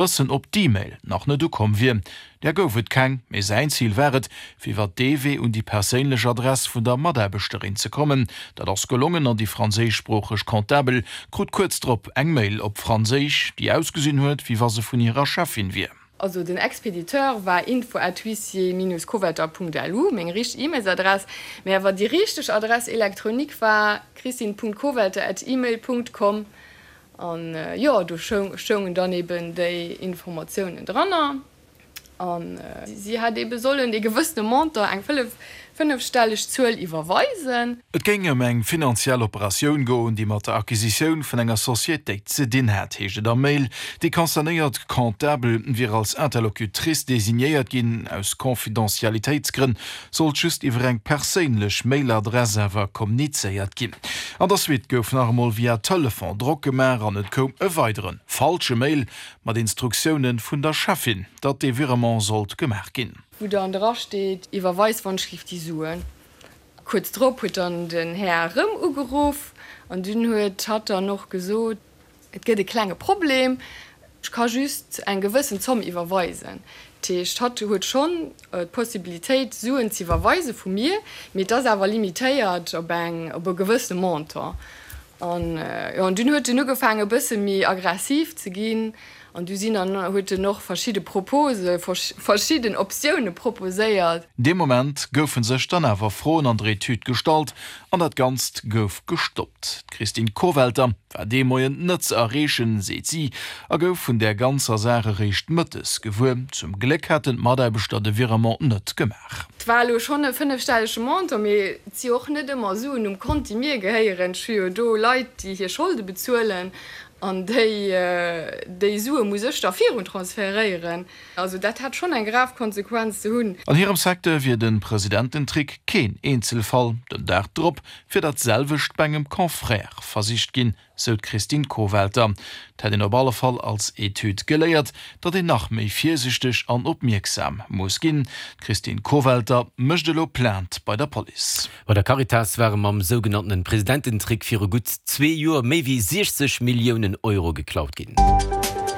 Wëssen, ob d'E-Mail nach net ukomm wier. Där gouf et keng, mee säin Zil war et, fir iwwer dee Wee un déi perséinlech Adress vun der Mataarbechterin ze kommen. Dat ass gelongen an déi franséischsproocheg Comptabel krut kuerz drop eng Mail op Franséisch, déi ausgesinn huet, wéi wa se vun hirer Cheffin wier. Also den Expediteur war info at huissier-kowetter.lu, meng richteg E-Mailsadress, mee awer déi richteg Adresse électronique war christine.kowetter at email.com. An jo, do stoungen dann eben déi Informatiounen dranner. An si hätt ebe sollen ee gewëssene Montant, eng fënnefstelleg Zuel, iwwerweisen. Et géing ëm eng finanziell Operatioun goen, déi mat der Acquisitioun vun enger Societéit ze dinn hätt, heescht et am Mail. Déi concernéiert Comptabel wier als Interlocutrice designéiert ginn. Aus Confidentialitéitsgrënn sollt just iwwer eng perséinlech Mailadress awer kommunizéiert ginn. An der Suite gouf nach emol via Telefon Drock gemaach an et koum e weidere falsche Mail mat Instruktioune vun der Cheffin, datt dee Virement sollt gemaach ginn. Wou dann dra steet, Iwwerweis wannschlift déi Suen. Kuerz drop huet dann den Här erëm ugeruff an dunn huet hatt dann och gesot, Et gëtt e klenge Problem, ech ka just eng gewëssen Zomm iwwerweisen. Dat heescht, hatt huet schonn d'Possibilitéit, Suen z'iwwerweise vu mir, mee et ass awer limitéiert op eng, op e gewëssene Montant. An jo, an dunn huet en ugefaangen, e bësse méi aggressiv ze ginn. An du sinn an huet en och verschidde Propose, verschidden Optioune proposéiert. Dee Moment goufe sech dann awer Froen an der Etüd gestallt an dat Ganzt gouf gestoppt. D'Christine Kovelter war dee Moien net ze erreechen, seet si, a gouf vun där ganzer Saach eréischt mëttes gewuer. Zum Gléck hätten d'Mataarbechter de Virement net gemaach. Et war elo schonn e fënnefstellege Montant, mee et si och net ëmmer Suen um Kont, déi mir gehéieren. Ech hu jo do Leit, déi hir Scholde bezuelen an déi déi Sue muss ech da virun transferéieren. Also dat hätt schonn eng grav Konsequenz ze hunn. An hirem Secteur wier de Presidententrick keen Eenzelfall. Den Dag drop wier dat selwecht bei engem Confrère versicht ginn, sou d'Christine Kowelter. Et hätt een op alle Fall als Etüd geléiert, datt een nach méi virsichteg an opmierksam muss ginn. D'Christine Kowelter mécht elo Plainte bei der Police. Bei der Caritas ware mam sougenanntene Presidententrick viru gutt zwee Joer méi wéi 60 Milliounen Euro geklaut ginn.